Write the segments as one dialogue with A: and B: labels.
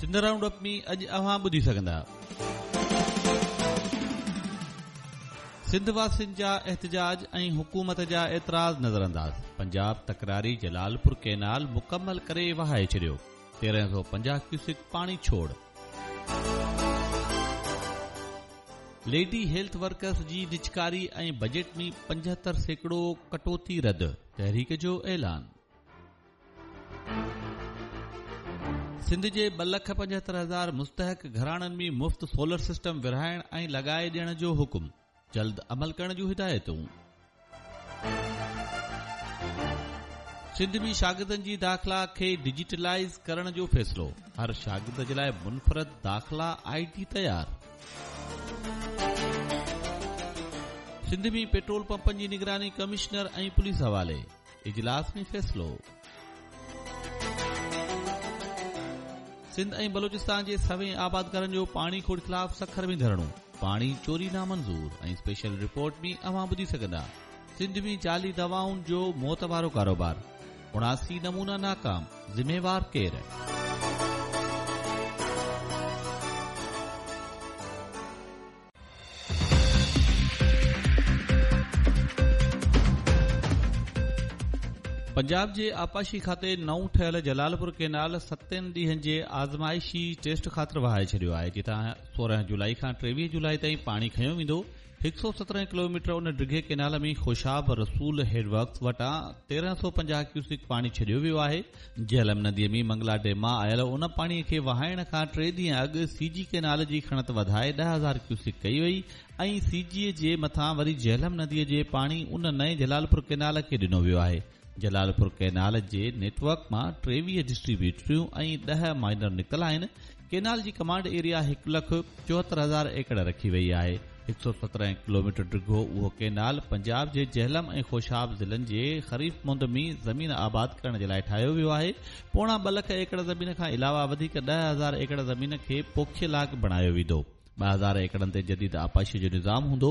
A: Sindh round up ۾ اڄ اوهان ٻڌي سگهندا. سنڌ واسين جا احتجاج ۽ حڪومت جا اعتراض نظرانداز، پنجاب تڪراري جلالپور ڪئنال مڪمل ڪري وهائي ڇڏيو، 1350 ڪيوسڪ پاڻي ڇوڙ. ليڊي هيلٿ ورڪرز جي نجڪاري ۽ بجيٽ ۾ 75% ڪٽوتي رد، تحريڪ جو اعلان. سنڌ جي 2,75,000 مستحق گهراڻن ۾ مفت سولر سسٽم ورهائڻ ۽ لڳائي ڏيڻ جو حڪم، جلد عمل ڪرڻ جون هدايتون. سنڌ ۾ شاگردن جي داخلا کي ڊجيٽلائيز ڪرڻ جو فيصلو، هر شاگرد جي لاء منفرد داخلا I D تيار. سنڌ ۾ پيٽرول پمپن جي نگراني ڪمشنر ۽ پوليس حوالي. اجلاس ۾ فيصلو. سنڌ ۽ بلوچستان جي سوين آبادگارن جو پاڻي کوٽ خلاف سکر ۾ ڌرڻو، پاڻي چوري نامنظور ۽ اسپيشل رپورٽ ۾ اوهان ٻڌي سگهندا سنڌ ۾ جعلي دوائن جو موت وارو ڪاروبار، 79 نمونا ناڪام، ذميوار ڪير؟ پنجاب جي آبپاشي کاتي نئون ٺهيل جلالپور ڪينال ستن ڏينهن جي آزمائشي ٽيسٽ خاطر وهائي ڇڏيو آهي جتان 16 جولائي کان 23 جولائي تائين پاڻي کنيو ويندو. 117 ڪلوميٽر ان ڊگهي ڪينال ۾ خوشاب رسول هيڊ ورڪس وٽان 1350 ڪيوسڪ پاڻي ڇڏيو ويو آهي. جهلم نديء ۾ منگلا ڊيم مان آيل ان پاڻي کي وهائڻ کان ٽي ڏينهن اڳ سي جي ڪينال جي کڻت وڌائي 10,000 ڪيوسڪ ڪئي وئي ۽ سي جي جي مٿان وري جهلم نديء جي پاڻي ان نئين جلالپور ڪينال کي ڏنو ويو آهي. جلالپور ڪئنال جي نيٽ ورڪ مان 23 ڊسٽريبيوٽريون ۽ 10 مائنر نڪتل آهن. ڪئنال جي ڪمانڊ ايريا 1,74,000 ايڪڙ رکي وئي آهي. 117 ڪلوميٽر ڊگهو اهو ڪئنال پنجاب جي جهلم ۽ خوشاب ضلعن جي خريف مند ۾ زمين آباد ڪرڻ جي لاء ٺاهيو ويو آهي. پوڻا ٻه لک ايڪڙ زمين کان علاوه وڌيڪ 10,000 ايڪڙ زمين کي پوکي لائق بڻايو ويندو. 2000 ايڪڙن تي جديد آبپاشي جو نظام هوندو،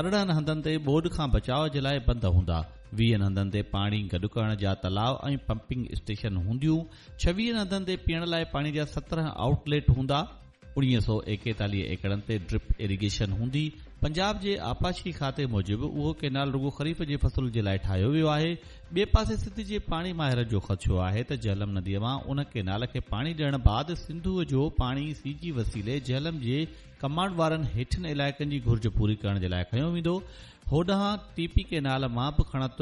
A: 18 هنڌن تي ٻوڏ کان بچاء جي لاء بند هوندا، ويهن هنڌن تي پاڻي گڏ ڪرڻ جا تلاء ۽ پمپنگ اسٽيشن هونديون، ڇويهن هنڌن تي پيئڻ لاء پاڻي جا 17 آئوٽ ليٽ هوندا، 1941 ايڪڙن تي ڊرپ ايريگيشن هوندي، پنجاب جي آبپاشي کاتي موجب اهو ڪينال رڳو خريف جي فصل جي لاء ٺاهيو ويو آهي، ٻئي پاسي سنڌ جي پاڻي ماهرن جو خدشو آهي ته جهلم نديء مان ان ڪينال کي پاڻي ڏيڻ بعد سنڌوء جو پاڻي سي جي وسيلي جهلم جي ڪمانڊ وارن هيٺين علائقن جي گهرج پوري ڪرڻ جي لاء کنيو ويندو. هوڏانهن ٽي پي ڪينال مان به کڻت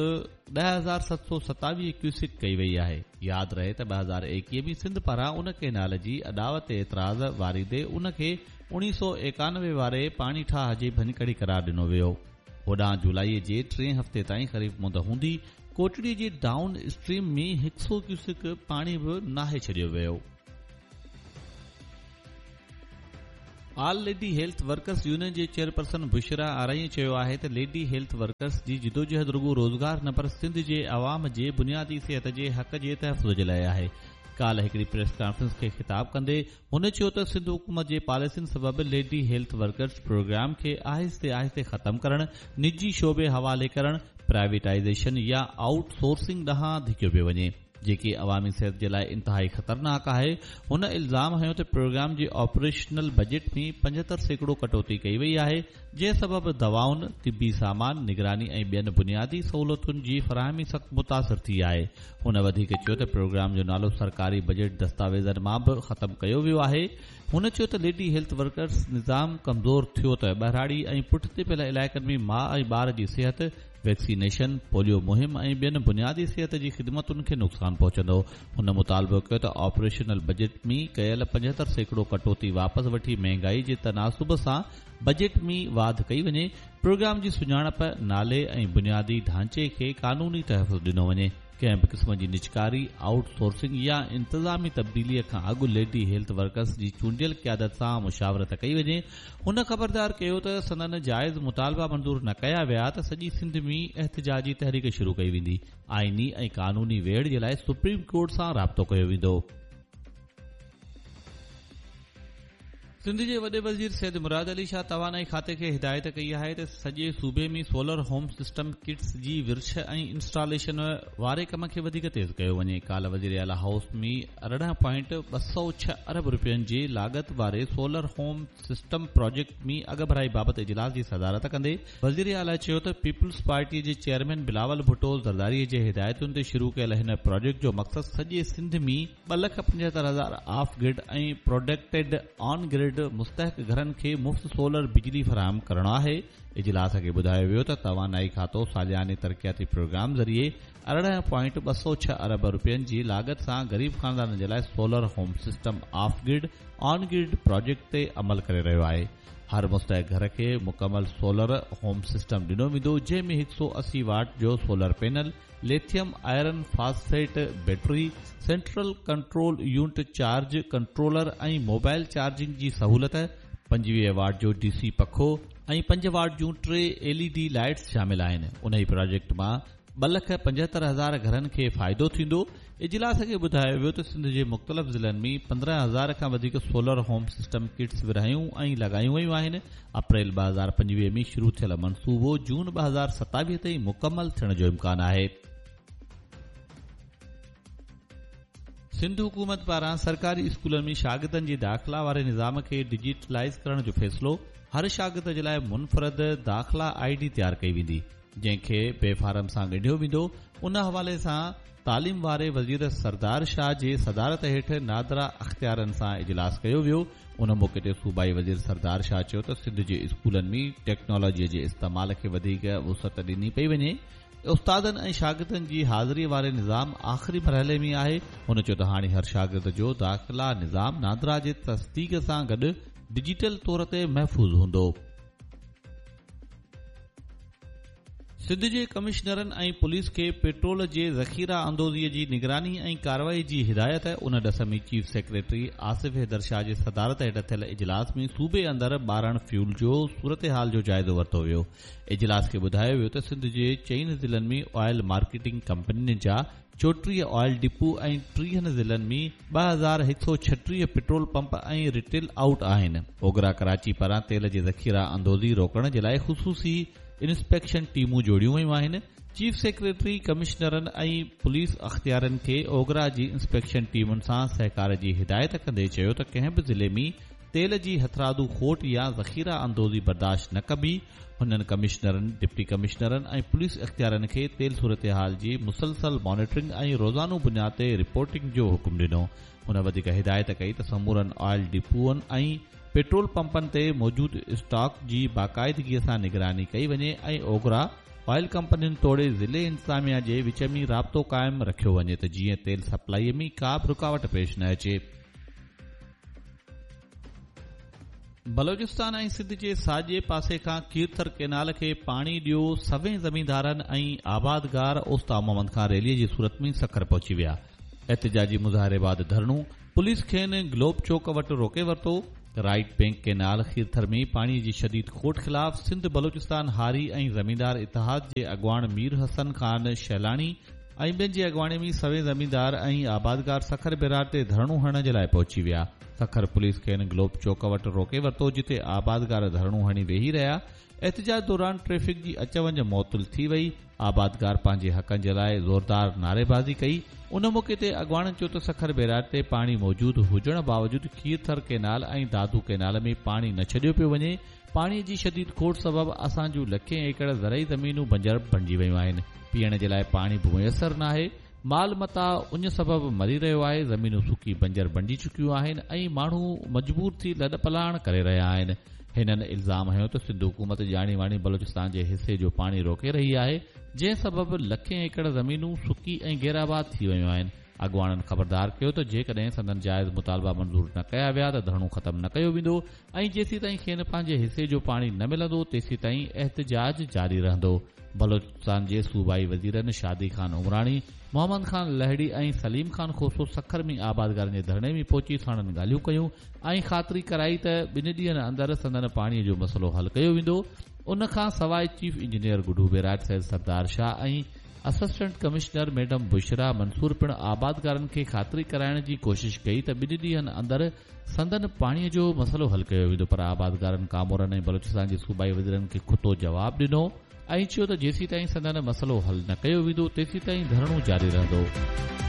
A: 10,727 ڪيوسڪ ڪئي وئي آهي. ياد رهي ته 2021 ۾ سنڌ پاران ان ڪينال جي اڏاوت تي اعتراض واريندي ان کي 1991 واري پاڻي ٺاهه جي ڀڃڪڙي قرار ڏنو ويو. هوڏانهن جولائي جي ٽئين هفتي تائين خريف مند هوندي ڪوٽڙي جي ڊائون اسٽريم ۾ هڪ سئو ڪيوسڪ پاڻي به ناهي ڇڏيو ويو. All lady health workers union جي چيئرپرسن بشريٰ آرائين چيو آهي ته ليڊي هيلٿ ورڪرز جي جدوجهد رڳو روزگار نه پر سنڌ جي عوام جي بنيادي صحت جي حق جي تحفظ جي لاء آهي. ڪالهه هڪڙي پريس ڪانفرنس کي خطاب ڪندي هن چيو ته سنڌ حڪومت جي پاليسين سبب ليڊي هيلٿ ورڪرز پروگرام کي آهستي آهستي ختم ڪرڻ، نجي شعبي حوالي ڪرڻ، پرائيويٽائيزيشن يا آئوٽ سورسنگ ڏانهن ڌڪيو پيو وڃي، جيڪي عوامي صحت جي لاء انتهائي خطرناڪ آهي. هن الزام هنيو ته پروگرام جي آپريشنل بجيٽ ۾ 75% ڪٽوتي ڪئي وئي آهي، جنهن سبب دوائن، طبي سامان، نگراني ۽ ٻين بنيادي سهولتن جي فراهمي سخت متاثر ٿي آهي. هن وڌيڪ چيو ته پروگرام جو نالو سرڪاري بجيٽ دستاويزن مان به ختم ڪيو ويو آهي. هن چيو ته ليڊي هيلٿ ورڪرز نظام ڪمزور ٿيو ته ٻهراڙي ۽ پٺتي پيل علائقن ۾ ماء ۽ ٻار جي صحت، ويڪسينيشن، پوليو مهم ۽ ٻين بنيادي صحت جي خدمتن کي نقصان پهچندو. هن مطالبو ڪيو ته آپريشنل بجيٽ ۾ ڪيل 75% ڪٽوتي واپس وٺي مهنگائي جي تناسب سان بجيٽ ۾ واڌ ڪئي وڃي، پروگرام جي سڃاڻپ، نالي ۽ بنيادي ڍانچي کي قانوني تحفظ ڏنو وڃي، ڪنهن به قسم جي نجڪاري، آئوٽ سورسنگ يا انتظامي تبديلي کان اڳ ليڊي هيلٿ ورڪرز جي چونڊيل قيادت سان مشاورت ڪئي وڃي. هن خبردار ڪيو ته سندن جائز مطالبا منظور نه ڪيا ويا ته سڄي سنڌ ۾ احتجاجي تحريڪ شروع ڪئي ويندي، آئيني ۽ قانوني ويڙهه جي لاء سپريم ڪورٽ سان رابطو ڪيو ويندو. سنڌ جي وڏي وزير سيد مراد علي شاهه توانائي کاتي کي هدايت ڪئي آهي ته سڄي صوبي ۾ سولر هوم سسٽم ڪٽس جي ورڇ ۽ انسٽاليشن واري ڪم کي وڌيڪ تيز ڪيو وڃي. ڪالهه وزيراعليٰ هائوس ۾ 18.206 ارب رپين جي لاڳت واري سولر هوم سسٽم پراجيڪٽ ۾ اڳڀرائي بابت اجلاس جي صدارت ڪندي وزيراعليٰ چيو ته پيپلز پارٽي جي چيئرمين بلاول ڀٽو زرداري جي هدايتن تي شروع ڪيل هن پراجيڪٽ جو مقصد سڄي Sindh ۾ 2,75,000 off grid ۽ protected on grid مستحق گهرن کي مفت سولر بجلي فراهم ڪرڻ آهي. اجلاس کي ٻڌايو ويو ته توانائي کاتو سالياني ترقياتي پروگرام ذريعي 18.206 ارب رپين جي لاڳت سان غريب خاندانن جي لاء solar home system off grid on grid project تي عمل ڪري رهيو آهي. هر مستحق گهر کي مڪمل سولر هوم سسٽم ڏنو ويندو جنهن ۾ 180 واٽ جو solar panel, lithium iron phosphate battery, central control unit charge controller ۽ mobile charging جي سهولت، 25 واٽ جو ڊي سي پکو ۽ پنج واٽ جون ٽي ايل اي ڊي لائيٽس شامل آهن. انهي پراجيڪٽ مان 2,75,000 گهرن کي فائدو ٿيندو. اجلاس کي ٻڌايو ويو ته سنڌ جي مختلف ضلعن ۾ 15,000 کان وڌيڪ سولر هوم سسٽم ڪٽس ورهايون ۽ لڳايون ويون آهن. اپريل 2025 ۾ شروع ٿيل منصوبو جون 2027 تائين مڪمل ٿيڻ جو امڪان آهي. سنڌ حڪومت پاران سرڪاري اسڪولن ۾ شاگردن جي داخلا واري نظام کي ڊجيٽلائيز ڪرڻ جو فيصلو، هر شاگرد جي لاء منفرد داخلا I D تيار ڪئي ويندي، جنهن کي بي فارم سان ڳنڍيو ويندو، ان حوالي سان تعليم واري وزير سردار شاهه جي صدارت هيٺ نادرا اختيارين سان اجلاس ڪيو ويو، ان موقعي تي صوبائي وزير سردار شاهه چيو ته سنڌ جي اسڪولن ۾ ٽيڪنالاجي جي استعمال کي وڌيڪ وسعت ڏني پئي وڃي، استادن ۽ شاگردن جي حاضري واري نظام آخري مرحلي ۾ آهي، هن چيو ته هاڻي هر شاگرد جو داخلا نظام نادرا جي تصديق سان گڏ ڊجيٽل طور تي محفوظ هوندو. سنڌ جي ڪمشنرن ۽ پوليس کي پيٽرول جي ذخيره اندوزي جي نگراني ۽ ڪارروائي جي هدايت، ان ڏس ۾ چيف سيڪريٽري آصف حيدر شاهه جي صدارت هيٺ ٿيل اجلاس ۾ صوبي اندر ٻارڻ فيول جو صورتحال جو جائزو ورتو ويو. اجلاس کي ٻڌايو ويو ته سنڌ جي چئن ضلعن ۾ آئل مارڪيٽنگ ڪمپنين جا 34 آئل ڊپو ۽ 30 ضلعن ۾ 2136 پيٽرول پمپ ۽ ريٽيل آئوٽ آهن. اوگرا ڪراچي پاران تيل جي ذخيره اندوزي روڪڻ جي لاء خصوصي انسپيڪشن ٽيمون جوڙيون ويون آهن. چيف سيڪريٽري ڪمشنرن ۽ پوليس اختيارين کي اوگرا جي انسپيڪشن ٽيمن سان سهڪار جي هدايت ڪندي چيو ته ڪنهن به ضلعي ۾ تيل جي هٿرادو کوٽ يا ذخيره اندوزي برداشت نه ڪبي. هنن ڪمشنرن، ڊپٽي ڪمشنرن ۽ پوليس اختيارين کي تيل صورتحال جي مسلسل مانيٽرنگ ۽ روزانو بنياد تي رپورٽنگ جو حڪم ڏنو. هن وڌيڪ هدايت ڪئي ته سمورن آئل ڊپوئن ۽ پيٽرول پمپن تي موجود اسٽاڪ جي باقاعدگي سان نگراني ڪئي وڃي ۽ اوگرا، آئل ڪمپنين توڙي ضلعي انتظاميا جي وچ ۾ رابطو قائم رکيو وڃي ته جيئن تيل سپلائي ۾ ڪا به رڪاوٽ پيش نه اچي. بلوچستان ۽ سنڌ جي ساڄي پاسي کان کيرٿر ڪئنال کي پاڻي ڏيو سوين زميندارن ۽ آبادگار اوستا محمد کان ريلي جي صورت ۾ سکر پهچي ويا احتجاجي مظاهري بعد ڌرڻو پوليس کين گلوب چوڪ وٽ روڪي ورتو رائيٽ بينڪ ڪئنال کيرٿر ۾ پاڻي جي شديد کوٽ خلاف سنڌ بلوچستان هاري ۽ زميندار اتحاد جي اڳواڻ مير حسن خان شهلاڻي ۽ ٻين جي اڳواڻي ۾ سوين زميندار ۽ آبادگار سکر بيراج تي ڌرڻو هڻڻ جي لاء پهچي ويا. سکر پوليس کين گلوب چوڪ وٽ روڪي ورتو جتي آبادگار ڌرڻو هڻي ويهي رهيا. احتجاج دوران ٽريفڪ جي اچ وڃ معطل ٿي وئي. آبادگار پنهنجي حقن جي لاء زوردار نعريبازي ڪئي. ان موقعي تي اڳواڻن چيو ته سکر بيراج تي پاڻي موجود هجڻ باوجود کيرٿر ڪئنال ۽ دادو ڪئنال ۾ پاڻي نه ڇڏيو پيو وڃي. پاڻي جي شديد کوٽ سبب اسان جون لکين ايڪڙ زرعي زمينون بنجر بڻجي ويون آهن، پيئڻ جي لاء پاڻي به ميسر ناهي، مال متاع اڃ سبب مري رهيو آهي، زمينون سڪي بنجر بڻجي چڪيون آهن ۽ ماڻهو مجبور ٿي لڏپلاڻ ڪري رهيا آهن. هنن الزام هنيو ته سنڌ حڪومت ڄاڻي واڻي بلوچستان جي حصي جو پاڻي روڪي رهي آهي، جنهن سبب لکين ايڪڙ زمينون سڪي ۽ غيرآباد ٿي ويون آهن. اڳواڻن خبردار ڪيو ته جيڪڏهن سندن جائز مطالبا منظور نه ڪيا ويا ته ڌرڻو ختم نه ڪيو ويندو ۽ جيسيتائين کين پنهنجي حصي جو پاڻي نه ملندو تيسيتائين احتجاج جاري رهندو. بلوچستان جي صوبائي وزيرن شادي خان عمراڻي، محمد خان لهڙي ۽ سليم خان کوسو سکر ۾ آبادگارن جي ڌرڻي ۾ پهچي ساڻن ڳالهيون ڪيون ۽ خاطري ڪرائي ته ٻن ڏينهن اندر سندن پاڻي جو مسئلو حل ڪيو ويندو. ان کان سواء chief engineer Guddu barrage Syed Sardar Shah ۽ Assistant commissioner madam Bushra Mansoor پڻ آبادگارن کي خاطري ڪرائڻ جي ڪوشش ڪئي ته ٻن ڏينهن اندر سندن پاڻي جو مسئلو حل ڪيو ويندو پر آبادگارن ڪامورن ۽ بلوچستان جي صوبائي وزيرن کي کتو جواب ڏنو ۽ چيو ته جيسيتائين سندن مسئلو حل نه ڪيو ويندو تيسيتائين ڌرڻو جاري رهندو.